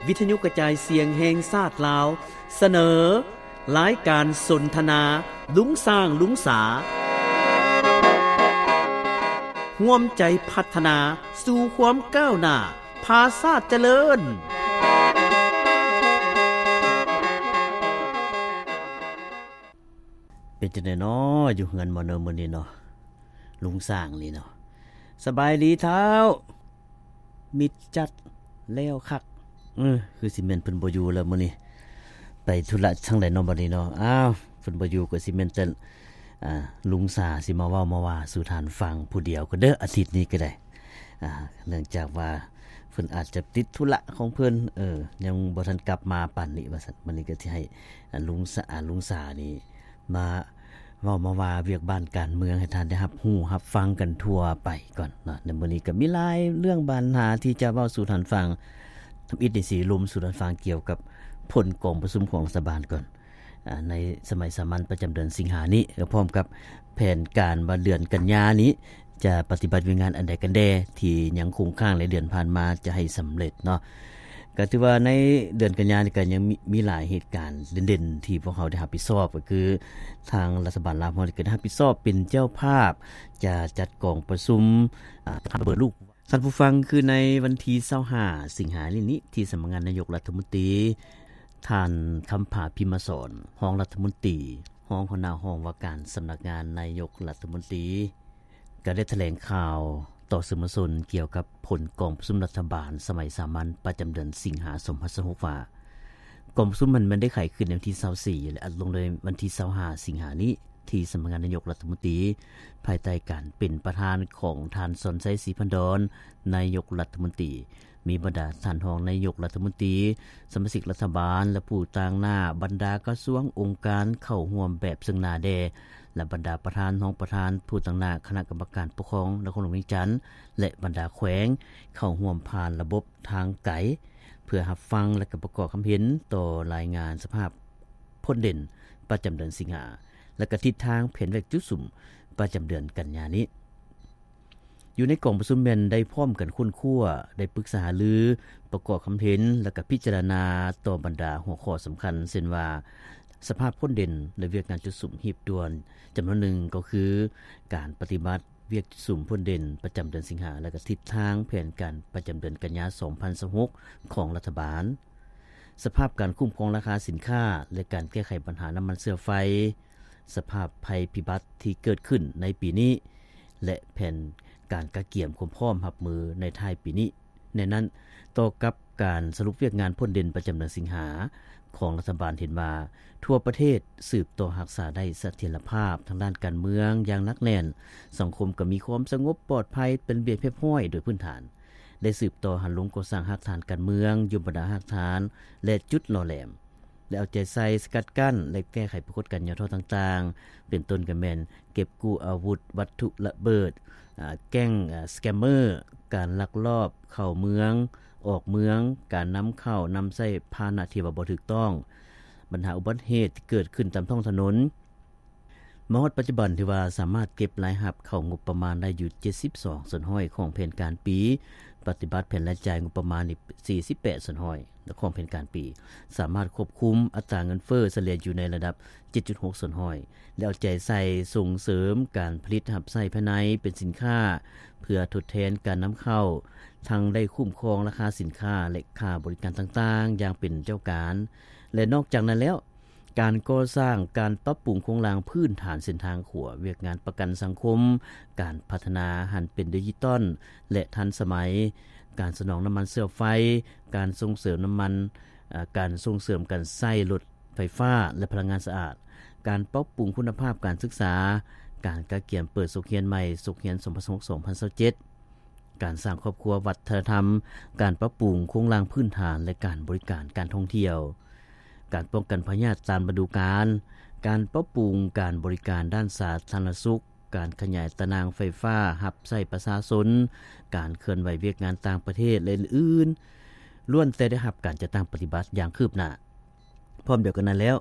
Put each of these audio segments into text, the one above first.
ວິທະຍຸກະຈາຍສຽງແຫ່ງຊາດລາວ ສະເໜີ ລາຍການສົນທະນາ ລຸງຊ້າງລຸງສາ ຮ່ວມໃຈພັດທະນາສູ່ຄວາມກ້າວໜ້າ ພາຊາດຈະເລີນ. ເປັນຈັ່ງໃດນໍ ຢູ່ເຮືອນບໍ່ນໍມື້ນີ້ນໍ ລຸງຊ້າງນີ້ນໍ? ສະບາຍດີທ້າວ ມິດຈັດແລ້ວຄັກ. ເອີ ຄືຊິແມ່ນເພິ່ນບໍ່ຢູ່ແລ້ວມື້ນີ້ ໄປທຸລະທາງໃດນໍບັດນີ້ນໍ? ອ້າວ ເພິ່ນບໍ່ຢູ່ກໍຊິແມ່ນແຕ່ ອ່າ ລຸງສາຊິມາເວົ້າມາວ່າສູ່ທ່ານຟັງຜູ້ດຽວກໍເດີ ອາທິດນີ້ກໍໄດ້ ອ່າ ເນື່ອງຈາກວ່າເພິ່ນອາດຈະຕິດທຸລະຂອງເພິ່ນ ເອີ ຍັງບໍ່ທັນກັບມາປານນີ້ວ່າຊັ້ນ. ມື້ນີ້ກໍຊິໃຫ້ ອ່າ ລຸງສາ ອ່າ ລຸງສານີ້ມາເວົ້າມາວ່າວຽກບ້ານການເມືອງໃຫ້ທ່ານໄດ້ຮັບຮູ້ຮັບຟັງກັນທົ່ວໄປກ່ອນເນາະ. ໃນມື້ນີ້ກໍມີຫຼາຍເລື່ອງບັນຫາທີ່ຈະເວົ້າສູ່ທ່ານຟັງ. ທຳອິດນີ້ຊິລົມສູ່ທ່ານຟັງກ່ຽວກັບຜົນກອງປະຊຸມຂອງລັດຖະບານກ່ອນ ອ່າ ໃນສະໄໝສາມັນປະຈຳເດືອນສິງຫານີ້ ແລະ ພ້ອມກັບແຜນການວ່າເດືອນກັນຍານີ້ຈະປະຕິບັດວຽກງານອັນໃດກັນແດ່ ທີ່ຍັງຄົງຄ້າງໃນເດືອນຜ່ານມາຈະໃຫ້ສຳເລັດເນາະ. ກໍຖືວ່າໃນເດືອນກັນຍານີ້ກໍຍັງມີ ມີຫຼາຍເຫດການເດັ່ນໆ ທີ່ພວກເຮົາໄດ້ຮັບຜິດຊອບ ກໍຄືທາງລັດຖະບານລາວເຮົານີ້ກໍໄດ້ຮັບຜິດຊອບເປັນເຈົ້າພາບ ຈະຈັດກອງປະຊຸມ ອ່າ ທຳລະເບີດລູກ ທ່ານຜູ້ຟັງ, ຄືໃນວັນທີຊາວຫ້າ ສິງຫານີ້ນີ້ ທີ່ສຳນັກງານນາຍົກລັດຖະມົນຕີ, ທ່ານ ຄຳຜາ ພິມມະສອນ ຮອງລັດຖະມົນຕີ, ຮອງຫົວໜ້າຫ້ອງວ່າການສຳນັກງານນາຍົກລັດຖະມົນຕີ ກໍໄດ້ຖະແຫຼງຂ່າວຕໍ່ສື່ມວນຊົນກ່ຽວກັບຜົນກອງປະຊຸມລັດຖະບານສະໄໝສາມັນປະຈຳເດືອນສິງຫາ ສອງພັນຊາວຫົກ ວ່າ ກອງປະຊຸມນັ້ນແມ່ນໄດ້ໄຂຂຶ້ນໃນວັນທີຊາວສີ່ ແລະ ອັດລົງໃນວັນທີຊາວຫ້າ ສິງຫານີ້ ທີ່ສຳນັກງານນາຍົກລັດຖະມົນຕີ ພາຍໃຕ້ການເປັນປະທານຂອງທ່ານ ສອນໄຊ ສີພັນດອນ ນາຍົກລັດຖະມົນຕີ, ມີບັນດາທ່ານຮອງນາຍົກລັດຖະມົນຕີ, ສະມາຊິກລັດຖະບານ ແລະ ຜູ້ຕາງໜ້າບັນດາກະຊວງ, ອົງການເຂົ້າຮ່ວມແບບເຊິ່ງໜ້າແດ່ ແລະ ບັນດາປະທານ, ຮອງປະທານ, ຜູ້ຕາງໜ້າຄະນະກຳມະການປົກຄອງນະຄອນຫຼວງວຽງຈັນ ແລະ ບັນດາແຂວງ ເຂົ້າຮ່ວມຜ່ານລະບົບທາງໄກ ເພື່ອຮັບຟັງ ແລະ ກະປະກອບຄຳເຫັນຕໍ່ລາຍງານສະພາບພົ້ນເດັ່ນປະຈຳເດືອນສິງຫາ ແລະ ກະທິດທາງແຜນວຽກຈຸດສຸມປະຈຳເດືອນກັນຍານີ້. ຢູ່ໃນກອງປະຊຸມແມ່ນໄດ້ພ້ອມກັນຄົ້ນຄວ້າ, ໄດ້ປຶກສາຫາລື, ປະກອບຄຳເຫັນ ແລະ ກະພິຈາລະນາຕໍ່ບັນດາຫົວຂໍ້ສຳຄັນ ເຊັ່ນວ່າ ສະພາບພົ້ນເດັ່ນ ແລະ ວຽກງານຈຸດສຸມຮີບດ່ວນຈຳນວນໜຶ່ງ ກໍຄື ການປະຕິບັດວຽກຈຸດສຸມພົ້ນເດັ່ນປະຈຳເດືອນສິງຫາ ແລະ ກະທິດທາງແຜນການປະຈຳເດືອນກັນຍາ ສອງພັນຊາວຫົກ ຂອງລັດຖະບານ, ສະພາບການຄຸ້ມຄອງລາຄາສິນຄ້າ ແລະ ການແກ້ໄຂບັນຫານ້ຳມັນເຊື້ອໄຟ, ສະພາບໄພພິບັດທີ່ເກີດຂຶ້ນໃນປີນີ້ ແລະ ແຜນການກະກຽມຄວາມພ້ອມຮັບມືໃນທ້າຍປີນີ້. ໃນນັ້ນ, ຕໍ່ກັບການສະຫຼຸບວຽກງານພົ້ນເດັ່ນປະຈຳເດືອນສິງຫາຂອງລັດຖະບານເຫັນວ່າ, ທົ່ວປະເທດສືບຕໍ່ຮັກສາໄດ້ສະຖຽນລະພາບທາງດ້ານການເມືອງຢ່າງໜັກແໜ້ນ, ສັງຄົມກໍມີຄວາມສະຫງົບປອດໄພເປັນລະບຽບຮຽບຮ້ອຍໂດຍພື້ນຖານ, ໄດ້ສືບຕໍ່ຫັນລົງກໍ່ສ້າງຮາກຖານການເມືອງ, ຍົມບັນດາຮາກຖານ ແລະ ຈຸດຫຼໍ່ແຫຼມ. ໄດ້ເອົາໃຈໃສ່ສະກັດກັ້ນ ແລະ ແກ້ໄຂປາກົດການຫຍໍ້ທໍ້ຕ່າງໆ ເປັນຕົ້ນກໍແມ່ນເກັບກູ້ອາວຸດວັດຖຸລະເບີດ, ອາ, ແກ້ງ, ອາ, ສະແກມເມີ, ການລັກລອບເຂົ້າເມືອງ, ອອກເມືອງ, ການນຳເຂົ້ານຳໃຊ້ພາຫະນະທີ່ວ່າບໍ່ຖືກຕ້ອງ, ບັນຫາອຸບັດເຫດທີ່ເກີດຂຶ້ນຕາມທ້ອງຖະໜົນ. ມາຮອດປັດຈຸບັນ ຖືວ່າສາມາດເກັບລາຍຮັບເຂົ້າງົບປະມານໄດ້ຢູ່ເຈັດສິບສອງສ່ວນຮ້ອຍຂອງແຜນການປີ, ປະຕິບັດແຜນລາຍຈ່າຍງົບປະມານນີ້ສີ່ສິບແປດສ່ວນຮ້ອຍຂອງແຜນການປີ, ສາມາດຄວບຄຸມອັດຕາເງິນເຟີ້ສະເລ່ຍຢູ່ໃນລະດັບເຈັດຈຸດຫົກສ່ວນຮ້ອຍ ແລະ ເອົາໃຈໃສ່ສົ່ງເສີມການຜະລິດຮັບໃຊ້ພາຍໃນເປັນສິນຄ້າ ເພື່ອທົດແທນການນຳເຂົ້າ, ທັງໄດ້ຄຸ້ມຄອງລາຄາສິນຄ້າ ແລະ ຄ່າບໍລິການຕ່າງໆຢ່າງເປັນເຈົ້າການ ແລະ ນອກຈາກນັ້ນແລ້ວ, ການກໍ່ສ້າງ, ການປັບປຸງໂຄງລ່າງພື້ນຖານເສັ້ນທາງຂົວ, ວຽກງານປະກັນສັງຄົມ, ການພັດທະນາຫັນເປັນດິຈິຕອນ ແລະ ທັນສະໄໝ, ການສະໜອງນ້ຳມັນເຊື້ອໄຟ, ການສົ່ງເສີມນ້ຳມັນ, ເອີ, ການສົ່ງເສີມການໃຊ້ລົດໄຟຟ້າ ແລະ ພະລັງງານສະອາດ, ການປັບປຸງຄຸນນະພາບການສຶກສາ, ການກະກຽມເປີດສົກຮຽນໃໝ່, ສົກຮຽນສອງພັນຊາວຫົກ ສອງພັນຊາວເຈັດ, ການສ້າງຄອບຄົວວັດທະນະທຳ, ການປັບປຸງໂຄງລ່າງພື້ນຖານ ແລະ ການບໍລິການການທ່ອງທ່ຽວ, ການປ້ອງກັນພະຍາດຕາມລະດູການ, ການປັບປຸງການບໍລິການດ້ານສາທາລະນະສຸກ, ການຂະຫຍາຍຕາໜ່າງໄຟຟ້າຮັບໃຊ້ປະຊາຊົນ, ການເຄື່ອນໄຫວວຽກງານຕ່າງປະເທດ ແລະ ອື່ນໆ, ລ້ວນແຕ່ໄດ້ຮັບການຈັດຕັ້ງປະຕິບັດຢ່າງຄືບໜ້າ. ພ້ອມດຽວກັນນັ້ນແລ້ວ,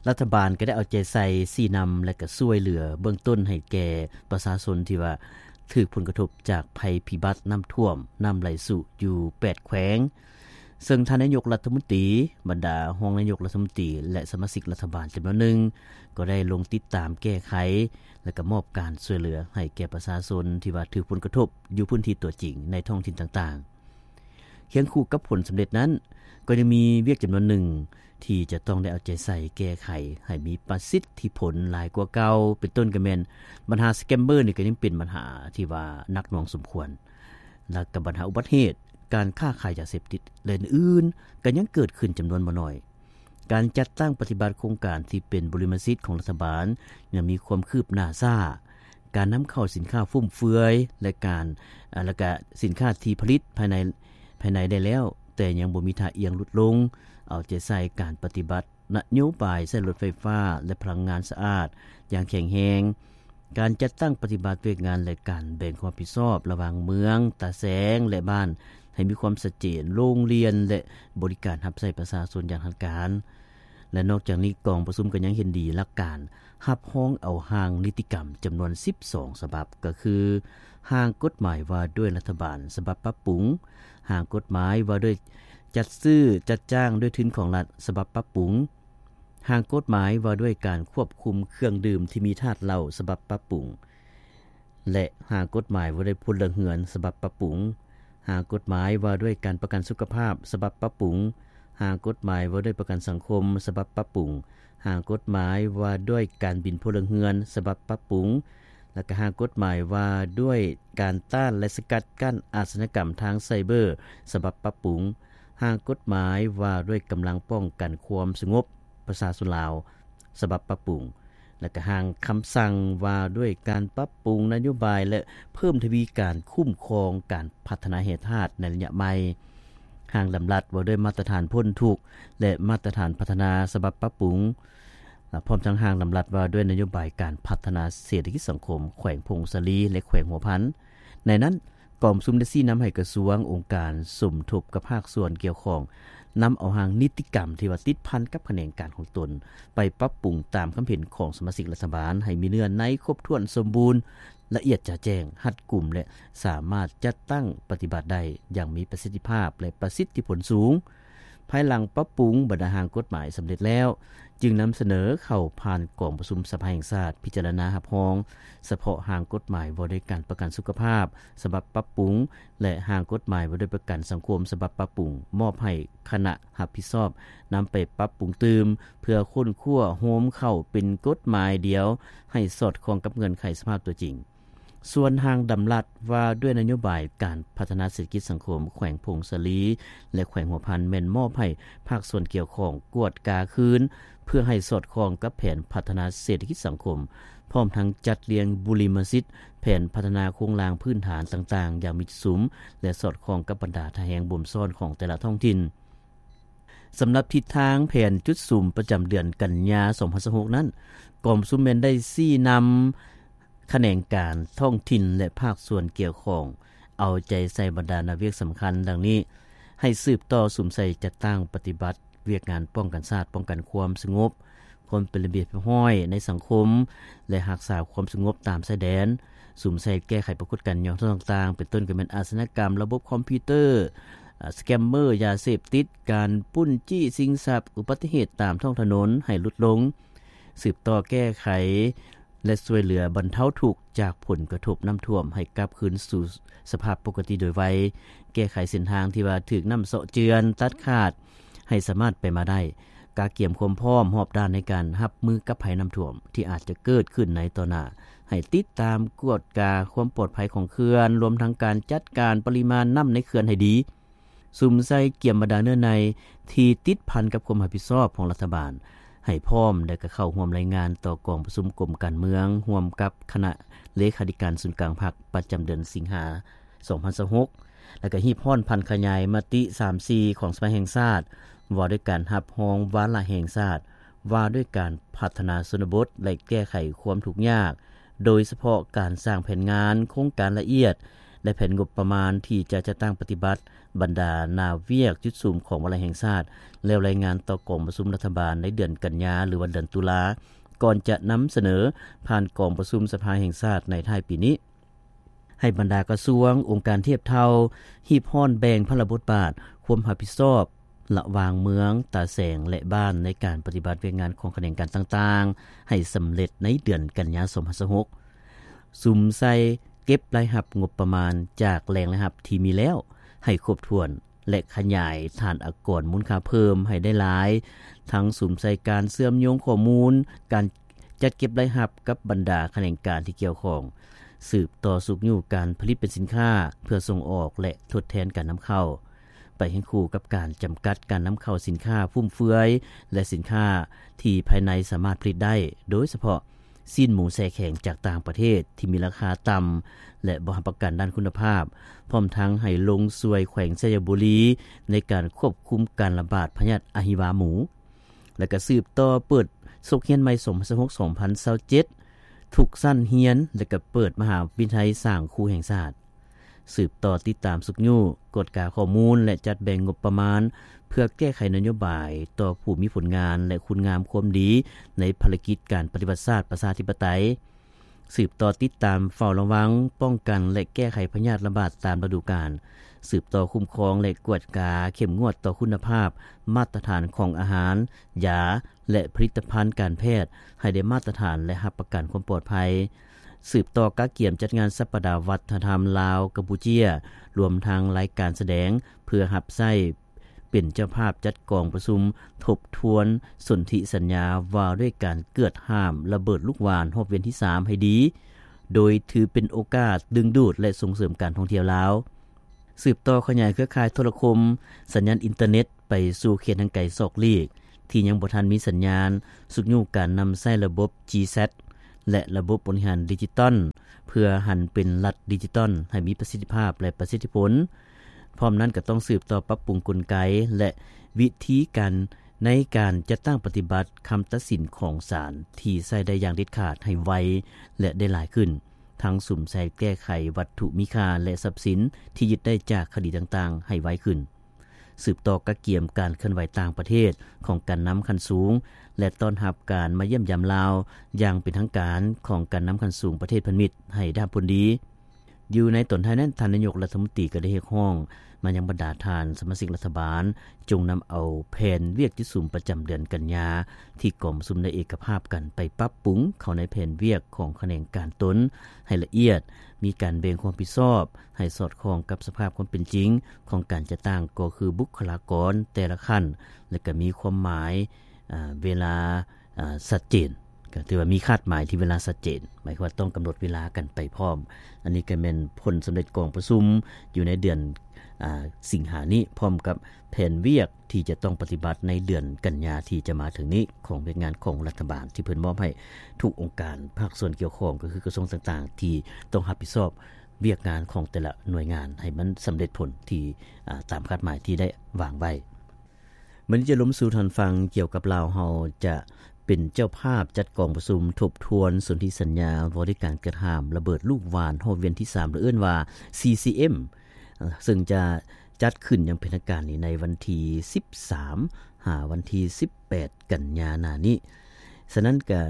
ລັດຖະບານກໍໄດ້ເອົາໃຈໃສ່ຊີ້ນຳ ແລະ ກໍຊ່ວຍເຫຼືອເບື້ອງຕົ້ນໃຫ້ແກ່ປະຊາຊົນທີ່ວ່າຖືກຜົນກະທົບຈາກໄພພິບັດນ້ຳຖ້ວມ, ນ້ຳໄຫຼຊຸຢູ່ແປດແຂວງ, ເຊິ່ງທ່ານນາຍົກລັດຖະມົນຕີ, ບັນດາຮອງນາຍົກລັດຖະມົນຕີ ແລະ ສະມາຊິກລັດຖະບານຈຳນວນໜຶ່ງ ກໍໄດ້ລົງຕິດຕາມແກ້ໄຂ ແລະ ກໍມອບການຊ່ວຍເຫຼືອໃຫ້ແກ່ປະຊາຊົນທີ່ວ່າຖືກຜົນກະທົບຢູ່ພື້ນທີ່ຕົວຈິງໃນທ້ອງຖິ່ນຕ່າງໆ. ຄຽງຄູ່ກັບຜົນສຳເລັດນັ້ນ, ກໍຍັງມີວຽກຈຳນວນໜຶ່ງທີ່ຈະຕ້ອງໄດ້ເອົາໃຈໃສ່ແກ້ໄຂໃຫ້ມີປະສິດທິຜົນຫຼາຍກວ່າເກົ່າ, ເປັນຕົ້ນກໍແມ່ນບັນຫາສະແກມເບີນີ້ກໍຍັງເປັນບັນຫາທີ່ວ່າໜັກໜ່ວງສົມຄວນ, ແລະ ກໍບັນຫາອຸບັດເຫດ, ການຄ້າຂາຍຢາເສບຕິດ ແລະ ອື່ນໆ ກໍຍັງເກີດຂຶ້ນຈຳນວນບໍ່ໜ້ອຍ. ການຈັດຕັ້ງປະຕິບັດໂຄງການທີ່ເປັນບຸລິມະສິດຂອງລັດຖະບານຍັງມີຄວາມຄືບໜ້າຊ້າ, ການນຳເຂົ້າສິນຄ້າຟຸມເຟືອຍ ແລະ ການ ແລະ ກະສິນຄ້າທີ່ຜະລິດພາຍໃນ ພາຍໃນໄດ້ແລ້ວ, ແຕ່ຍັງບໍ່ມີທ່າອ່ຽງຫຼຸດລົງ. ເອົາໃຈໃສ່ການປະຕິບັດນະໂຍບາຍໃຊ້ລົດໄຟຟ້າ ແລະ ພະລັງງານສະອາດຢ່າງແຂງແຮງ, ການຈັດຕັ້ງປະຕິບັດວຽກງານ ແລະ ການແບ່ງຄວາມຮັບຜິດຊອບລະຫວ່າງເມືອງ, ຕາແສງ ແລະ ບ້ານ ໃຫ້ມີຄວາມຊັດເຈນ, ໂຮງຮຽນ ແລະ ບໍລິການຮັບໃຊ້ປະຊາຊົນຢ່າງທັນການ. ແລະ ນອກຈາກນີ້ ກອງປະຊຸມກໍຍັງເຫັນດີຫຼັກການຮັບຮອງເອົາຮ່າງນິຕິກຳຈຳນວນສິບສອງສະບັບ, ກໍຄື ຮ່າງກົດໝາຍວ່າດ້ວຍລັດຖະບານສະບັບປັບປຸງ, ຮ່າງກົດໝາຍວ່າດ້ວຍຈັດຊື້ຈັດຈ້າງດ້ວຍທຶນຂອງລັດສະບັບປັບປຸງ, ຮ່າງກົດໝາຍວ່າດ້ວຍການຄວບຄຸມເຄື່ອງດື່ມທີ່ມີທາດເຫຼົ້າສະບັບປັບປຸງ ແລະ ຮ່າງກົດໝາຍວ່າດ້ວຍພົນລະເຮືອນສະບັບປັບປຸງ, ຮ່າງກົດໝາຍວ່າດ້ວຍການປະກັນສຸຂະພາບສະບັບປັບປຸງ, ຮ່າງກົດໝາຍວ່າດ້ວຍປະກັນສັງຄົມສະບັບປັບປຸງ, ຮ່າງກົດໝາຍວ່າດ້ວຍການບິນພົນລະເຮືອນສະບັບປັບປຸງ ແລະ ກະຮ່າງກົດໝາຍວ່າດ້ວຍການຕ້ານ ແລະ ສະກັດກັ້ນອາຊະຍາກຳທາງໄຊເບີສະບັບປັບປຸງ, ຮ່າງກົດໝາຍວ່າດ້ວຍກຳລັງປ້ອງກັນຄວາມສະຫງົບປະຊາຊົນລາວສະບັບປັບປຸງ ແລະ ກະຮ່າງຄຳສັ່ງວ່າດ້ວຍການປັບປຸງນະໂຍບາຍ ແລະ ເພີ່ມທະວີການຄຸ້ມຄອງການພັດທະນາແຮ່ທາດໃນໄລຍະໃໝ່, ຮ່າງດຳລັດວ່າດ້ວຍມາດຕະຖານພົ້ນທຸກ ແລະ ມາດຕະຖານພັດທະນາສະບັບປັບປຸງ ພ້ອມທັງຮ່າງດຳລັດວ່າດ້ວຍນະໂຍບາຍການພັດທະນາເສດຖະກິດສັງຄົມແຂວງຜົ້ງສາລີ ແລະ ແຂວງຫົວພັນ. ໃນນັ້ນ, ກອງປະຊຸມໄດ້ຊີ້ນຳໃຫ້ກະຊວງ, ອົງການສົມທົບກັບພາກສ່ວນກ່ຽວຂ້ອງ ນຳເອົາຮ່າງນິຕິກຳທີ່ວ່າຕິດພັນກັບຂະແໜງການຂອງຕົນ ໄປປັບປຸງຕາມຄຳເຫັນຂອງສະມາຊິກລັດຖະບານ ໃຫ້ມີເນື້ອໃນຄົບຖ້ວນສົມບູນ, ລະອຽດຈະແຈ້ງ, ຮັດກຸມ ແລະ ສາມາດຈັດຕັ້ງປະຕິບັດໄດ້ຢ່າງມີປະສິດທິພາບ ແລະ ປະສິດທິຜົນສູງ. ພາຍຫຼັງປັບປຸງບັນດາຮ່າງກົດໝາຍສຳເລັດແລ້ວ, ຈຶ່ງນຳສະເໜີເຂົ້າຜ່ານກອງປະຊຸມສະພາແຫ່ງຊາດພິຈາລະນາຮັບຮອງສະເພາະຮ່າງກົດໝາຍວ່າດ້ວຍການປະກັນສຸຂະພາບສະບັບປັບປຸງ ແລະ ຮ່າງກົດໝາຍວ່າດ້ວຍປະກັນສັງຄົມສະບັບປັບປຸງ ມອບໃຫ້ຄະນະຮັບຜິດຊອບນຳໄປປັບປຸງຕື່ມ ເພື່ອຄົ້ນຄວ້າໂຮມເຂົ້າເປັນກົດໝາຍດຽວ ໃຫ້ສອດຄ່ອງກັບເງື່ອນໄຂສະພາບຕົວຈິງ. ສ່ວນຮ່າງດຳລັດວ່າດ້ວຍນະໂຍບາຍການພັດທະນາເສດຖະກິດສັງຄົມແຂວງຜົ້ງສາລີ ແລະ ແຂວງຫົວພັນ ແມ່ນມອບໃຫ້ພາກສ່ວນກ່ຽວຂ້ອງກວດກາຄືນ ເພື່ອໃຫ້ສອດຄ່ອງກັບແຜນພັດທະນາເສດຖະກິດສັງຄົມ, ພ້ອມທັງຈັດລຽງບຸລິມະສິດແຜນພັດທະນາໂຄງລ່າງພື້ນຖານຕ່າງໆຢ່າງມີຈຸດສຸມ ແລະ ສອດຄ່ອງກັບບັນດາທ່າແຮງບົ່ມຊ້ອນຂອງແຕ່ລະທ້ອງຖິ່ນ. ສຳລັບທິດທາງແຜນຈຸດສຸມປະຈຳເດືອນກັນຍາ ສອງພັນຊາວຫົກ ນັ້ນ, ກອງປະຊຸມແມ່ນໄດ້ຊີ້ນຳຂະແໜງການທ້ອງຖິ່ນ ແລະ ພາກສ່ວນກ່ຽວຂ້ອງ ເອົາໃຈໃສ່ບັນດາໜ້າວຽກສຳຄັນດັ່ງນີ້: ໃຫ້ສືບຕໍ່ສຸມໃສ່ຈັດຕັ້ງປະຕິບັດວຽກງານປ້ອງກັນຊາດ, ປ້ອງກັນຄວາມສະຫງົບ, ຄວາມເປັນລະບຽບຮຽບຮ້ອຍໃນສັງຄົມ ແລະ ຮັກສາຄວາມສະຫງົບຕາມຊາຍແດນ, ສຸມໃສ່ແກ້ໄຂປາກົດການຫຍໍ້ທໍ້ຕ່າງໆ ເປັນຕົ້ນກໍແມ່ນອາຊະຍາກຳລະບົບຄອມພິວເຕີ, ສະແກມເມີ, ຢາເສບຕິດ, ການປຸ້ນຈີ້ຊິງຊັບ, ອຸບັດຕິເຫດຕາມທ້ອງຖະໜົນໃຫ້ຫຼຸດລົງ, ສືບຕໍ່ແກ້ໄຂ ແລະ ຊ່ວຍເຫຼືອບັນເທົາທຸກຈາກຜົນກະທົບນ້ຳຖ້ວມໃຫ້ກັບຄືນສູ່ສະພາບປົກກະຕິໂດຍໄວ, ແກ້ໄຂເສັ້ນທາງທີ່ວ່າຖືກນ້ຳເຊາະເຈື່ອນ, ຕັດຂາດ ໃຫ້ສາມາດໄປມາໄດ້, ກະກຽມຄວາມພ້ອມຮອບດ້ານໃນການຮັບມືກັບໄພນ້ຳຖ້ວມທີ່ອາດຈະເກີດຂຶ້ນໃນຕໍ່ໜ້າ, ໃຫ້ຕິດຕາມກວດກາຄວາມປອດໄພຂອງເຂື່ອນ, ລວມທັງການຈັດການປະລິມານນ້ຳໃນເຂື່ອນໃຫ້ດີ. ສຸມໃສ່ກຽມບັນດາເນື້ອໃນທີ່ຕິດພັນກັບຄວາມຮັບຜິດຊອບຂອງລັດຖະບານໃຫ້ພ້ອມ ແລະ ກະເຂົ້າຮ່ວມລາຍງານຕໍ່ກອງປະຊຸມກົມການເມືອງ ຮ່ວມກັບຄະນະເລຂາທິການສູນກາງພັກ ປະຈຳເດືອນສິງຫາ ສອງພັນຊາວຫົກ ແລະ ກະຮີບຮ້ອນຜັນຂະຫຍາຍມະຕິ ສາມສີ່ ຂອງສະພາແຫ່ງຊາດ ວ່າດ້ວຍການຮັບຮອງວາລະແຫ່ງຊາດ ວ່າດ້ວຍການພັດທະນາຊົນນະບົດ ແລະ ແກ້ໄຂຄວາມທຸກຍາກ, ໂດຍສະເພາະການສ້າງແຜນງານໂຄງການລະອຽດ ແລະ ແຜນງົບປະມານທີ່ຈະຈັດຕັ້ງປະຕິບັດບັນດາໜ້າວຽກຈຸດສຸມຂອງວາລະແຫ່ງຊາດ ແລ້ວລາຍງານຕໍ່ກອງປະຊຸມລັດຖະບານໃນເດືອນກັນຍາ ຫຼືວ່າເດືອນຕຸລາ ກ່ອນຈະນຳສະເໜີຜ່ານກອງປະຊຸມສະພາແຫ່ງຊາດໃນທ້າຍປີນີ້. ໃຫ້ບັນດາກະຊວງ, ອົງການທຽບເທົ່າ ຮີບຮ້ອນແບ່ງພາລະບົດບາດ, ຄວາມຮັບຜິດຊອບ ລະຫວ່າງເມືອງ, ຕາແສງ ແລະ ບ້ານ ໃນການປະຕິບັດວຽກງານຂອງຂະແໜງການຕ່າງໆ ໃຫ້ສຳເລັດໃນເດືອນກັນຍາ ສອງພັນຊາວຫົກ, ສຸມໃສ່ເກັບລາຍຮັບງົບປະມານຈາກແຫຼ່ງລາຍຮັບທີ່ມີແລ້ວໃຫ້ຄົບຖ້ວນ ແລະ ຂະຫຍາຍຖານອາກອນມູນຄ່າເພີ່ມໃຫ້ໄດ້ຫຼາຍ, ທັງສຸມໃສ່ການເຊື່ອມໂຍງຂໍ້ມູນ, ການຈັດເກັບລາຍຮັບກັບບັນດາຂະແໜງການທີ່ກ່ຽວຂ້ອງ, ສືບຕໍ່ຊຸກຍູ້ການຜະລິດເປັນສິນຄ້າເພື່ອສົ່ງອອກ ແລະ ທົດແທນການນຳເຂົ້າ. ໄປຄຽງຄູ່ກັບການຈຳກັດການນຳເຂົ້າສິນຄ້າຟຸມເຟືອຍ ແລະ ສິນຄ້າທີ່ພາຍໃນສາມາດຜະລິດໄດ້, ໂດຍສະເພາະຊີ້ນໝູແຊ່ແຂງຈາກຕ່າງປະເທດທີ່ມີລາຄາຕ່ຳ ແລະ ບໍ່ຮັບປະກັນດ້ານຄຸນນະພາບ, ພ້ອມທັງໃຫ້ລົງຊ່ວຍແຂວງໄຊຍະບູລີໃນການຄວບຄຸມການລະບາດພະຍາດອະຫິວາໝູ. ແລະ ກະສືບຕໍ່ເປີດສົກຮຽນໃໝ່ ສອງພັນຊາວຫົກ ສອງພັນຊາວເຈັດ ທຸກຊັ້ນຮຽນ ແລະ ກະເປີດມະຫາວິທະຍາໄລສ້າງຄູແຫ່ງຊາດ. ສືບຕໍ່ຕິດຕາມຊຸກຍູ້, ກວດກາຂໍ້ມູນ ແລະ ຈັດແບ່ງງົບປະມານ ເພື່ອແກ້ໄຂນະໂຍບາຍຕໍ່ຜູ້ມີຜົນງານ ແລະ ຄຸນງາມຄວາມດີໃນພາລະກິດການປະຕິວັດຊາດປະຊາທິປະໄຕ. ສືບຕໍ່ຕິດຕາມເຝົ້າລະວັງ, ປ້ອງກັນ ແລະ ແກ້ໄຂພະຍາດລະບາດຕາມລະດູການ. ສືບຕໍ່ຄຸ້ມຄອງ ແລະ ກວດກາເຂັ້ມງວດຕໍ່ຄຸນນະພາບ, ມາດຕະຖານຂອງອາຫານ, ຢາ ແລະ ຜະລິດຕະພັນການແພດໃຫ້ໄດ້ມາດຕະຖານ ແລະ ຮັບປະກັນຄວາມປອດໄພ. ສືບຕໍ່ກະກຽມຈັດງານສັບປະດາວັດທະນະທຳລາວ-ກຳປູເຈຍ, ລວມທັງລາຍການສະແດງ ເພື່ອຮັບໃຊ້ເປັນເຈົ້າພາບຈັດກອງປະຊຸມທົບທວນສົນທິສັນຍາວ່າດ້ວຍການເກືອດຫ້າມລະເບີດລູກຫວ່ານຮອບວຽນທີສາມໃຫ້ດີ, ໂດຍຖືເປັນໂອກາດດຶງດູດ ແລະ ສົ່ງເສີມການທ່ອງທ່ຽວລາວ. ສືບຕໍ່ຂະຫຍາຍເຄືອຂ່າຍໂທລະຄົມ, ສັນຍານອິນເຕີເນັດໄປສູ່ເຂດຫ່າງໄກສອກຫຼີກ ທີ່ຍັງບໍ່ທັນມີສັນຍານ, ຊຸກຍູ້ການນຳໃຊ້ລະບົບ ຈີແຊັດ ແລະ ລະບົບບໍລິຫານດິຈິຕອນ ເພື່ອຫັນເປັນລັດດິຈິຕອນໃຫ້ມີປະສິດທິພາບ ແລະ ປະສິດທິຜົນ. ພ້ອມນັ້ນກໍຕ້ອງສືບຕໍ່ປັບປຸງກົນໄກ ແລະ ວິທີການໃນການຈັດຕັ້ງປະຕິບັດຄຳຕັດສິນຂອງສານທີ່ໃຊ້ໄດ້ຢ່າງເດັດຂາດໃຫ້ໄວ ແລະ ໄດ້ຫຼາຍຂຶ້ນ. ທັງສຸມໃສ່ແກ້ໄຂວັດຖຸມີຄ່າ ແລະ ຊັບສິນທີ່ຍຶດໄດ້ຈາກຄະດີຕ່າງໆໃຫ້ໄວຂຶ້ນ. ສືບຕໍ່ກະກຽມການເຄື່ອນໄຫວຕ່າງປະເທດຂອງການນຳຂັ້ນສູງ ແລະ ຕ້ອນຮັບການມາຢ້ຽມຢາມລາວຢ່າງເປັນທາງການຂອງການນຳຂັ້ນສູງປະເທດພັນມິດໃຫ້ໄດ້ຮັບຜົນດີ. ຢູ່ໃນຕອນທ້າຍນັ້ນ, ທ່ານນາຍົກລັດຖະມົນຕີກໍໄດ້ຮຽກຮ້ອງມາຍັງບັນດາທ່ານສະມາຊິກລັດຖະບານ ຈົ່ງນຳເອົາແຜນວຽກທີ່ສຸມປະຈຳເດືອນກັນຍາ ທີ່ກອງປະຊຸມໄດ້ເອກະພາບກັນໄປປັບປຸງເຂົ້າໃນແຜນວຽກຂອງຂະແໜງການຕົນໃຫ້ລະອຽດ, ມີການແບ່ງຄວາມຮັບຜິດຊອບໃຫ້ສອດຄ່ອງກັບສະພາບຄວາມເປັນຈິງຂອງການຈັດຕັ້ງ, ກໍຄືບຸກຄະລາກອນແຕ່ລະຂັ້ນ ແລະ ກໍມີຄວາມໝາຍ, ອາ, ເວລາ, ອາ, ຊັດເຈນ. ກໍຖືວ່າມີຄາດໝາຍທີ່ເວລາຊັດເຈນ, ໝາຍຄວາມວ່າຕ້ອງກຳນົດເວລາກັນໄປພ້ອມ. ອັນນີ້ກໍແມ່ນຜົນສຳເລັດກອງປະຊຸມຢູ່ໃນເດືອນ, ອາ, ສິງຫານີ້, ພ້ອມກັບແຜນວຽກທີ່ຈະຕ້ອງປະຕິບັດໃນເດືອນກັນຍາທີ່ຈະມາເຖິງນີ້ ຂອງວຽກງານຂອງລັດຖະບານ ທີ່ເພິ່ນມອບໃຫ້ທຸກອົງການພາກສ່ວນກ່ຽວຂ້ອງ, ກໍຄືກະຊວງຕ່າງໆ ທີ່ຕ້ອງຮັບຜິດຊອບວຽກງານຂອງແຕ່ລະໜ່ວຍງານໃຫ້ມັນສຳເລັດຜົນທີ່, ອາ, ຕາມຄາດໝາຍທີ່ໄດ້ວາງໄວ້. ມື້ນີ້ຈະລົມສູ່ທ່ານຟັງກ່ຽວກັບລາວເຮົາຈະເປັນເຈົ້າພາບຈັດກອງປະຊຸມທົບທວນສົນທິສັນຍາວ່າດ້ວຍການເກີດຫ້າມລະເບີດລູກຫວ່ານຮອບວຽນທີສາມ ຫຼື ເອີ້ນວ່າ ຊີຊີເອັມ ເຊິ່ງຈະຈັດຂຶ້ນຢ່າງເປັນທາງການນີ້ໃນວັນທີສິບສາມ ຫາວັນທີສິບແປດ ກັນຍາໜ້ານີ້. ສະນັ້ນກະ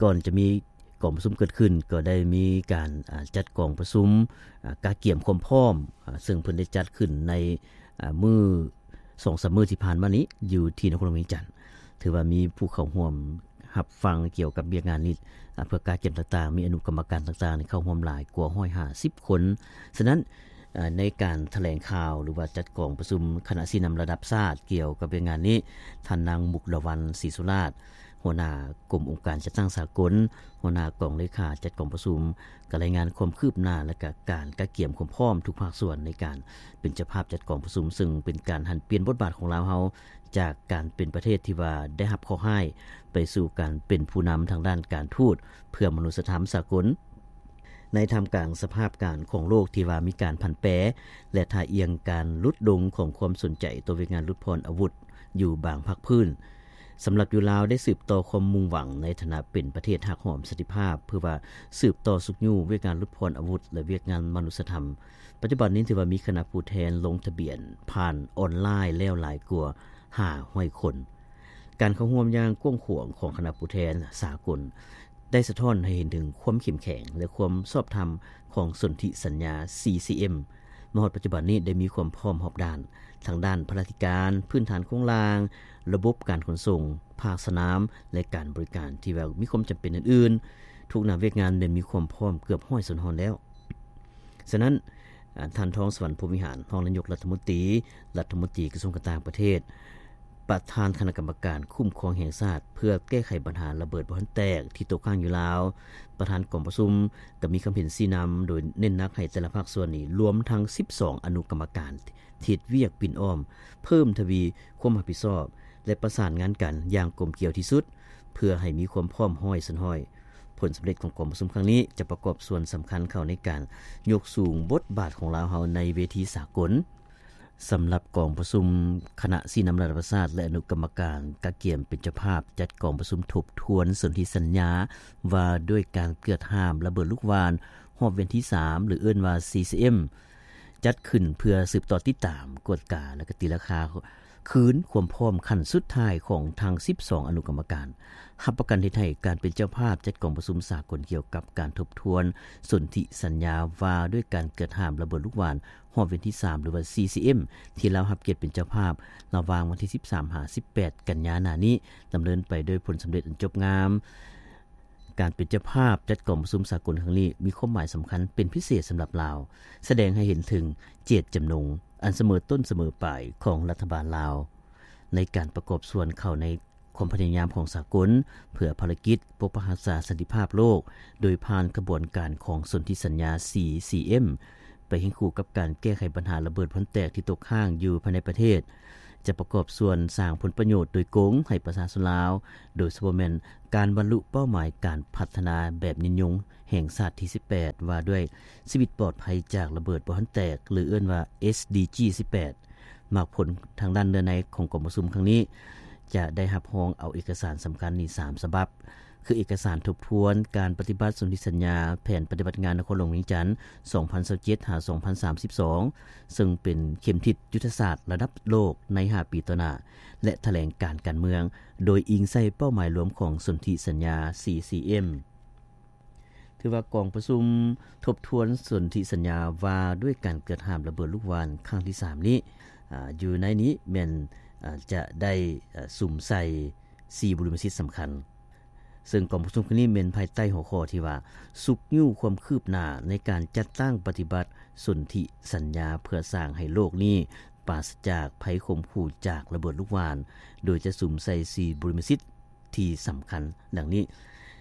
ກ່ອນຈະມີກອງປະຊຸມເກີດຂຶ້ນ ກໍໄດ້ມີການ, ອາ, ຈັດກອງປະຊຸມ, ອາ, ກະກຽມຄວາມພ້ອມ, ອາ, ເຊິ່ງເພິ່ນໄດ້ຈັດຂຶ້ນໃນ, ອາ, ມື້ ສອງສາມມື້ທີ່ຜ່ານມານີ້ ຢູ່ທີ່ນະຄອນຫຼວງວຽງຈັນ ຖືວ່າມີຜູ້ເຂົ້າຮ່ວມຮັບຟັງກ່ຽວກັບວຽກງານນີ້, ອາ, ເພື່ອກະກຽມຕ່າງໆ, ມີອະນຸກຳມະການຕ່າງໆ ເຂົ້າຮ່ວມຫຼາຍກວ່າຮ້ອຍຫ້າສິບຄົນ. ສະນັ້ນ, ອາ, ໃນການຖະແຫຼງຂ່າວ ຫຼືວ່າຈັດກອງປະຊຸມຄະນະຊີ້ນຳລະດັບຊາດກ່ຽວກັບວຽກງານນີ້, ທ່ານນາງ ມຸກດາວັນ ສີສຸລາດ ຫົວໜ້າກົມອົງການຈັດຕັ້ງສາກົນ, ຫົວໜ້າກອງເລຂາຈັດກອງປະຊຸມ ກໍລາຍງານຄວາມຄືບໜ້າ ແລະ ກະການກະກຽມຄວາມພ້ອມທຸກພາກສ່ວນໃນການເປັນເຈົ້າພາບຈັດກອງປະຊຸມ, ເຊິ່ງເປັນການຫັນປ່ຽນບົດບາດຂອງລາວເຮົາ ຈາກການເປັນປະເທດທີ່ວ່າໄດ້ຮັບເຄາະຮ້າຍ ໄປສູ່ການເປັນຜູ້ນຳທາງດ້ານການທູດເພື່ອມະນຸດສະທຳສາກົນ. ໃນທ່າມກາງສະພາບການຂອງໂລກທີ່ວ່າມີການຜັນແປ ແລະ ທ່າອ່ຽງການຫຼຸດລົງຂອງຄວາມສົນໃຈຕໍ່ວຽກງານຫຼຸດຜ່ອນອາວຸດຢູ່ບາງພາກພື້ນ, ສຳລັບຢູ່ລາວໄດ້ສືບຕໍ່ຄວາມມຸ່ງຫວັງໃນຖານະເປັນປະເທດຮັກຫອມສັນຕິພາບ ເພື່ອວ່າສືບຕໍ່ຊຸກຍູ້ວຽກງານຫຼຸດຜ່ອນອາວຸດ ແລະ ວຽກງານມະນຸດສະທຳ. ປັດຈຸບັນນີ້ຖືວ່າມີຄະນະຜູ້ແທນລົງທະບຽນຜ່ານອອນລາຍແລ້ວຫຼາຍກວ່າຫ້າຮ້ອຍຄົນ. ການເຂົ້າຮ່ວມຢ່າງກວ້າງຂວາງຂອງຄະນະຜູ້ແທນສາກົນ ໄດ້ສະທ້ອນໃຫ້ເຫັນເຖິງຄວາມເຂັ້ມແຂງ ແລະ ຄວາມຊອບທຳຂອງສົນທິສັນຍາ ຊີຊີເອັມ. ມາຮອດປັດຈຸບັນນີ້ໄດ້ມີຄວາມພ້ອມຮອບດ້ານ ທັງດ້ານພະລາທິການ, ພື້ນຖານໂຄງລ່າງ, ລະບົບການຂົນສົ່ງ, ພາກສະໜາມ ແລະ ການບໍລິການ ທີ່ວ່າມີຄວາມຈຳເປັນອື່ນໆ. ທຸກໜ້າວຽກງານໄດ້ມີຄວາມພ້ອມເກືອບຮ້ອຍສ່ວນຮ້ອຍແລ້ວ. ສະນັ້ນ, ອາ, ທ່ານ ທອງສະຫວັນ ພົມວິຫານ ຮອງນາຍົກລັດຖະມົນຕີ, ລັດຖະມົນຕີກະຊວງການຕ່າງປະເທດ, ປະທານຄະນະກຳມະການຄຸ້ມຄອງແຫ່ງຊາດ ເພື່ອແກ້ໄຂບັນຫາລະເບີດບໍ່ທັນແຕກທີ່ຕົກຄ້າງຢູ່ລາວ, ປະທານກອງປະຊຸມ ກໍມີຄຳເຫັນຊີ້ນຳ ໂດຍເນັ້ນໜັກໃຫ້ແຕ່ລະພາກສ່ວນນີ້ ລວມທັງສິບສອງອະນຸກຳມະການ ທີ່ເຮັດວຽກປິ່ນອ້ອມ ເພີ່ມທະວີຄວາມຮັບຜິດຊອບ ແລະ ປະສານງານກັນຢ່າງກົມກຽວທີ່ສຸດ ເພື່ອໃຫ້ມີຄວາມພ້ອມຮ້ອຍສ່ວນຮ້ອຍ. ຜົນສຳເລັດຂອງກອງປະຊຸມຄັ້ງນີ້ ຈະປະກອບສ່ວນສຳຄັນເຂົ້າໃນການຍົກສູງບົດບາດຂອງລາວເຮົາໃນເວທີສາກົນ. ສຳລັບກອງປະຊຸມຄະນະຊີ້ນຳລະດັບຊາດ ແລະ ອະນຸກຳມະການກະກຽມເປັນເຈົ້າພາບຈັດກອງປະຊຸມທົບທວນສົນທິສັນຍາວ່າດ້ວຍການເກືອດຫ້າມລະເບີດລູກຫວ່ານຮອບວຽນທີສາມ ຫຼື ເອີ້ນວ່າ ຊີຊີເອັມ ຈັດຂຶ້ນເພື່ອສືບຕໍ່ຕິດຕາມ, ກວດກາ ແລະ ກະຕີລາຄາຄືນຄວາມພ້ອມຂັ້ນສຸດທ້າຍຂອງທັງສິບສອງອະນຸກຳມະການ, ຮັບປະກັນເຮັດໃຫ້ການເປັນເຈົ້າພາບຈັດກອງປະຊຸມສາກົນກ່ຽວກັບການທົບທວນສົນທິສັນຍາວ່າດ້ວຍການເກີດຫ້າມລະເບີດລູກຫວ່ານຮອບວຽນທີສາມ ຫຼືວ່າ ຊີຊີເອັມ ທີ່ລາວຮັບກຽດເປັນເຈົ້າພາບ ລະຫວ່າງວັນທີສິບສາມ ຫາ ສິບແປດ ກັນຍາໜ້ານີ້ ດຳເນີນໄປໂດຍຜົນສຳເລັດອັນຈົບງາມ. ການເປັນເຈົ້າພາບຈັດກອງປະຊຸມສາກົນຄັ້ງນີ້ ມີຄວາມໝາຍສຳຄັນເປັນພິເສດສຳລັບລາວ, ສະແດງໃຫ້ເຫັນເຖິງເຈດຈຳນົງອັນສະເໝີຕົ້ນສະເໝີປາຍຂອງລັດຖະບານລາວ ໃນການປະກອບສ່ວນເຂົ້າໃນຄວາມພະຍາຍາມຂອງສາກົນ ເພື່ອພາລະກິດປົກປັກຮັກສາສັນຕິພາບໂລກ ໂດຍຜ່ານຂະບວນການຂອງສົນທິສັນຍາ ຊີຊີເອັມ ໄປຄຽງຄູ່ກັບການແກ້ໄຂບັນຫາລະເບີດບໍ່ທັນແຕກທີ່ຕົກຄ້າງຢູ່ພາຍໃນປະເທດ, ຈະປະກອບສ່ວນສ້າງຜົນປະໂຫຍດໂດຍກົງໃຫ້ປະຊາຊົນລາວ, ໂດຍສະເພາະແມ່ນການບັນລຸເປົ້າໝາຍການພັດທະນາແບບຍືນຍົງແຫ່ງຊາດທີສິບແປດ ວ່າດ້ວຍຊີວິດປອດໄພຈາກລະເບີດບໍ່ທັນແຕກ ຫຼື ເອີ້ນວ່າ ເອສດີຈີ ສິບແປດ. ໝາກຜົນທາງດ້ານເນື້ອໃນຂອງກອງປະຊຸມຄັ້ງນີ້ ຈະໄດ້ຮັບຮອງເອົາເອກະສານສຳຄັນນີ້ສາມສະບັບ, ຄືເອກະສານທົບທວນການປະຕິບັດສົນທິສັນຍາແຜນປະຕິບັດງານນະຄອນຫຼວງວຽງຈັນ ສອງພັນຊາວເຈັດ ຫາ ສອງພັນສາມສິບສອງ ເຊິ່ງເປັນເຂັມທິດຍຸດທະສາດລະດັບໂລກໃນຫ້າປີຕໍ່ໜ້າ ແລະ ຖະແຫຼງການການເມືອງ ໂດຍອີງໃສ່ເປົ້າໝາຍລວມຂອງສົນທິສັນຍາ ຊີຊີເອັມ. ຖືວ່າກອງປະຊຸມທົບທວນສົນທິສັນຍາວ່າດ້ວຍການເກີດຫ້າມລະເບີດລູກຫວ່ານຄັ້ງທີສາມນີ້ ອາ ຢູ່ໃນນີ້ແມ່ນ ອາ ຈະໄດ້ ອາ ສຸມໃສ່ສີ່ບຸລິມະສິດສຳຄັນ, ເຊິ່ງກອງປະຊຸມຄັ້ງນີ້ແມ່ນພາຍໃຕ້ຫົວຂໍ້ທີ່ວ່າ ຊຸກຍູ້ຄວາມຄືບໜ້າໃນການຈັດຕັ້ງປະຕິບັດສົນທິສັນຍາ ເພື່ອສ້າງໃຫ້ໂລກນີ້ປາສະຈາກໄພຂົ່ມຂູ່ຈາກລະເບີດລູກຫວ່ານ, ໂດຍຈະສຸມໃສ່ສີ່ບຸລິມະສິດ ທີ່ສຳຄັນດັ່ງນີ້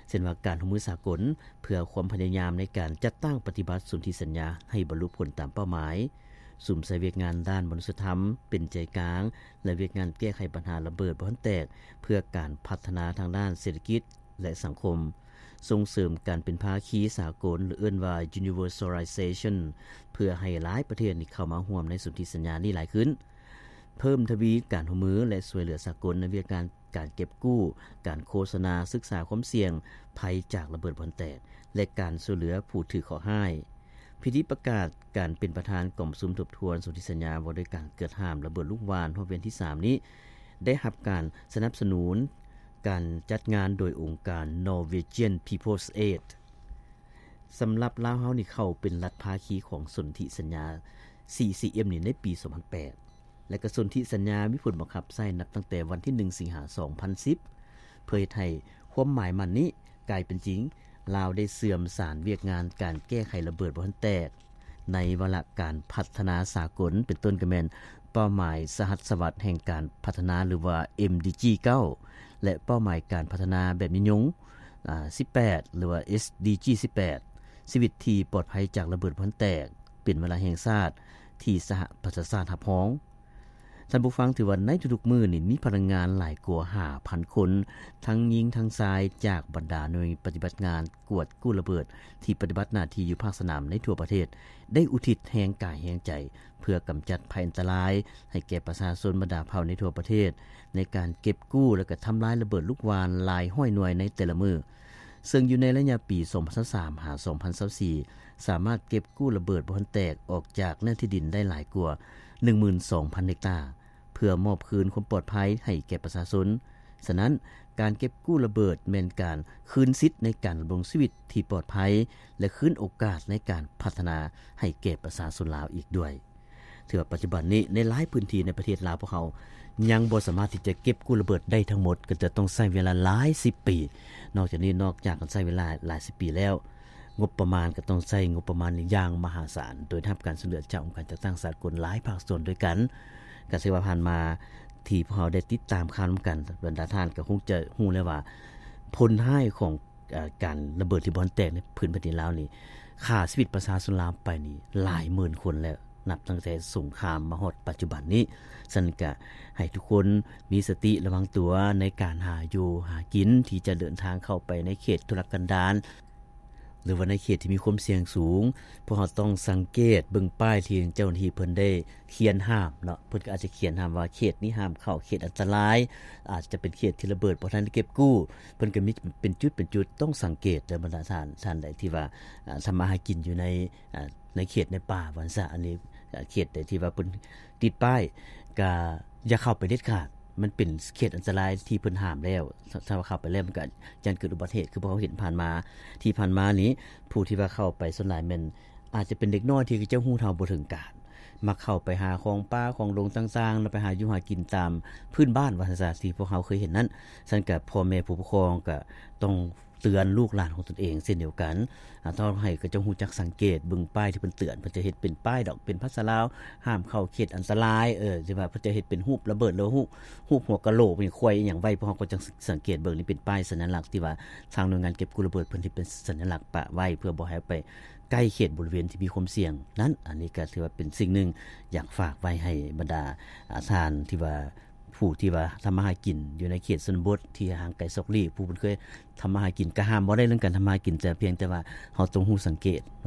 ເຊັ່ນວ່າ ການຮ່ວມມືສາກົນເພື່ອຄວາມພະຍາຍາມໃນການຈັດຕັ້ງປະຕິບັດສົນທິສັນຍາໃຫ້ບັນລຸຜົນຕາມເປົ້າໝາຍ, ສຸມໃສ່ວຽກງານດ້ານມະນຸດສະທຳເປັນໃຈກາງ ແລະ ວຽກງານແກ້ໄຂບັນຫາລະເບີດບໍ່ທັນແຕກ ເພື່ອການພັດທະນາທາງດ້ານເສດຖະກິດ ແລະ ສັງຄົມ, ສົ່ງເສີມການເປັນພາຄີສາກົນ ຫຼື ເອີ້ນວ່າ universalization ເພື່ອໃຫ້ຫຼາຍປະເທດນີ້ເຂົ້າມາຮ່ວມໃນສົນທິສັນຍານີ້ຫຼາຍຂຶ້ນ, ເພີ່ມທະວີການຮ່ວມມື ແລະ ຊ່ວຍເຫຼືອສາກົນໃນວຽກງານ ການເກັບກູ້, ການໂຄສະນາ, ສຶກສາຄວາມສ່ຽງໄພຈາກລະເບີດບໍ່ທັນແຕກ ແລະ ການຊ່ວຍເຫຼືອຜູ້ຖືກເຄາະຮ້າຍ. ພິທີປະກາດການເປັນປະທານກອງປະຊຸມທົບທວນສົນທິສັນຍາວ່າດ້ວຍການເກີດຫ້າມລະເບີດລູກຫວ່ານຮອບວຽນທີສາມນີ້ ໄດ້ຮັບການສະໜັບສະໜູນການຈັດງານໂດຍອົງການ Norwegian People's Aid. ສຳລັບລາວເຮົານີ້ເຂົ້າເປັນລັດພາຄີຂອງສົນທິສັນຍາ ຊີຊີເອັມ ນີ້ໃນປີສອງພັນແປດ ແລະ ກະສົນທິສັນຍາມີຜົນບັງຄັບໃຊ້ນັບຕັ້ງແຕ່ວັນທີໜຶ່ງ ສິງຫາ ສອງພັນສິບ ເພື່ອເຮັດໃຫ້ຄວາມໝາຍໝັ້ນນີ້ກາຍເປັນຈິງ, ລາວໄດ້ເຊື່ອມສານວຽກງານການແກ້ໄຂລະເບີດບໍ່ທັນແຕກ ໃນວາລະການພັດທະນາສາກົນ ເປັນຕົ້ນກະແມ່ນເປົ້າໝາຍສະຫັດສະຫວັດແຫ່ງການພັດທະນາ ຫຼືວ່າ ເອັມດີຈີ ເກົ້າ ແລະ ເປົ້າໝາຍການພັດທະນາແບບຍືນຍົງ ອາ ສິບແປດ ຫຼືວ່າ ເອສດີຈີ ສິບແປດ ຊີວິດທີ່ປອດໄພຈາກລະເບີດບໍ່ທັນແຕກ ເປັນວາລະແຫ່ງຊາດທີ່ສະຫະປະຊາຊາດຮັບຮອງ. ທ່ານຜູ້ຟັງ, ຖືວ່າໃນທຸກໆມື້ນີ້ມີພະນັກງານຫຼາຍກວ່າຫ້າພັນຄົນ ທັງຍິງທັງຊາຍ ຈາກບັນດາໜ່ວຍປະຕິບັດງານກວດກູ້ລະເບີດ ທີ່ປະຕິບັດໜ້າທີ່ຢູ່ພາກສະໜາມໃນທົ່ວປະເທດ ໄດ້ອຸທິດແຮງກາຍແຮງໃຈ ເພື່ອກຳຈັດໄພອັນຕະລາຍໃຫ້ແກ່ປະຊາຊົນບັນດາເຜົ່າໃນທົ່ວປະເທດ ໃນການເກັບກູ້ ແລະ ກະທຳລາຍລະເບີດລູກຫວ່ານຫຼາຍຮ້ອຍໜ່ວຍໃນແຕ່ລະມື້. ເຊິ່ງຢູ່ໃນໄລຍະປີສອງພັນຊາວສາມ ຫາ ສອງພັນຊາວສີ່ ສາມາດເກັບກູ້ລະເບີດບໍ່ທັນແຕກອອກຈາກເນື້ອທີ່ດິນໄດ້ຫຼາຍກວ່າໜຶ່ງໝື່ນສອງພັນເຮັກຕາ ເພື່ອມອບຄືນຄວາມປອດໄພໃຫ້ແກ່ປະຊາຊົນ. ສະນັ້ນ, ການເກັບກູ້ລະເບີດແມ່ນການຄືນສິດໃນການດຳລົງຊີວິດທີ່ປອດໄພ ແລະ ຄືນໂອກາດໃນການພັດທະນາໃຫ້ແກ່ປະຊາຊົນລາວອີກດ້ວຍ. ຖືວ່າປັດຈຸບັນນີ້ໃນຫຼາຍພື້ນທີ່ໃນປະເທດລາວພວກເຮົາຍັງບໍ່ສາມາດທີ່ຈະເກັບກູ້ລະເບີດໄດ້ທັງໝົດ ກໍຈະຕ້ອງໃຊ້ເວລາຫຼາຍສິບປີ. ນອກຈາກນີ້ ນອກຈາກການໃຊ້ເວລາຫຼາຍສິບປີແລ້ວ ງົບປະມານກໍຕ້ອງໃຊ້ງົບປະມານຢ່າງມະຫາສານ ໂດຍໄດ້ຮັບການຊ່ວຍເຫຼືອຈາກອົງການຈັດຕັ້ງສາກົນຫຼາຍພາກສ່ວນດ້ວຍກັນ. ກໍຖືວ່າຜ່ານມາທີ່ພວກເຮົາໄດ້ຕິດຕາມຂ່າວນຳກັນ ບັນດາທ່ານກໍຄົງຈະຮູ້ແລ້ວວ່າ ຜົນຮ້າຍຂອງ ເອີ ການລະເບີດທີ່ບໍ່ທັນແຕກໃນພື້ນແຜ່ນດິນລາວນີ້ ຂ້າຊີວິດປະຊາຊົນລາວໄປນີ້ຫຼາຍໝື່ນຄົນແລ້ວ ນັບຕັ້ງແຕ່ສົງຄາມມາຮອດປັດຈຸບັນນີ້. ສະນັ້ນກະໃຫ້ທຸກຄົນມີສະຕິລະວັງຕົວໃນການຫາຢູ່ຫາກິນ ທີ່ຈະເດີນທາງເຂົ້າໄປໃນເຂດທຸລະກັນດານ ຫຼືວ່າໃນເຂດທີ່ມີຄວາມສ່ຽງສູງ. ພວກເຮົາຕ້ອງສັງເກດເບິ່ງປ້າຍທີ່ເຈົ້າໜ້າທີ່ເພິ່ນໄດ້ຂຽນຫ້າມເນາະ, ເພິ່ນກໍອາດຈະຂຽນຫ້າມວ່າເຂດນີ້ຫ້າມເຂົ້າ, ເຂດອັນຕະລາຍ, ອາດຈະເປັນເຂດທີ່ລະເບີດບໍ່ທັນເກັບກູ້. ເພິ່ນກໍມີເປັນຈຸດເປັນຈຸດ, ຕ້ອງສັງເກດເດີບັນດາທ່ານ, ທ່ານໃດທີ່ວ່າ ອ່າ ທຳມາຫາກິນຢູ່ໃນ ອ່າ ໃນເຂດໃນປ່າວ່າຊັ້ນຊະ. ອັນນີ້ ເຂດໃດທີ່ວ່າເພິ່ນຕິດປ້າຍ ກະຢ່າເຂົ້າໄປເດັດຂາດ, ມັນເປັນເຂດອັນຕະລາຍທີ່ເພິ່ນຫ້າມແລ້ວ. ຖ້າ ຖ້າວ່າເຂົ້າໄປແລ້ວ ມັນກະຢ້ານເກີດອຸບັດເຫດ ຄືພວກເຮົາເຫັນຜ່ານມາ. ທີ່ຜ່ານມານີ້ ຜູ້ທີ່ວ່າເຂົ້າໄປສ່ວນຫຼາຍແມ່ນ ອາດຈະເປັນເດັກນ້ອຍທີ່ເຂົາເຈົ້າຮູ້ເທົ່າບໍ່ເຖິງການ, ມັກເຂົ້າໄປຫາຂອງປ່າຂອງດົງຕ່າງໆ ແລ້ວໄປຫາຢູ່ຫາກິນຕາມພື້ນບ້ານວ່າຊັ້ນຊະ ທີ່ພວກເຮົາເຄີຍເຫັນນັ້ນ. ສະນັ້ນກະພໍ່ແມ່ຜູ້ປົກຄອງກະຕ້ອງ ເຕືອນລູກຫຼານຂອງຕົນເອງເຊັ່ນດຽວກັນ. ອາ ຕ້ອງໃຫ້ເຂົາເຈົ້າຮູ້ຈັກສັງເກດເບິ່ງປ້າຍທີ່ເພິ່ນເຕືອນ, ເພິ່ນຈະເຮັດເປັນປ້າຍດອກ ເປັນພາສາລາວ ຫ້າມເຂົ້າເຂດອັນຕະລາຍ, ເອີ ຫຼືວ່າເພິ່ນຈະເຮັດເປັນຮູບລະເບີດ ຫຼືຮູບ ຮູບຫົວກະໂຫຼກ ຄວາຍອີ່ຫຍັງໄວ້, ພວກເຮົາກໍຈັ່ງສັງເກດເບິ່ງ. ນີ້ເປັນປ້າຍສັນຍາລັກທີ່ວ່າທາງໜ່ວຍງານເກັບກູ້ລະເບີດເພິ່ນເຮັດເປັນສັນຍາລັກປະໄວ້ ເພື່ອບໍ່ໃຫ້ໄປໃກ້ເຂດບໍລິເວນທີ່ມີຄວາມສ່ຽງນັ້ນ. ອັນນີ້ກໍຖືວ່າເປັນສິ່ງໜຶ່ງ ຢາກຝາກໄວ້ໃຫ້ບັນດາ ອາ ທ່ານທີ່ວ່າ ຜູ້ທີ່ວ່າທຳມາຫາກິນຢູ່ໃນເຂດຊົນນະບົດທີ່ຫ່າງໄກສອກຫຼີກ, ຜູ້ເພິ່ນເຄີຍທຳມາຫາກິນ, ກໍຫ້າມບໍ່ໄດ້ເລື່ອງການທຳມາຫາກິນ, ແຕ່ພຽງແຕ່ວ່າເຮົາຕ້ອງຮູ້ສັງເກດ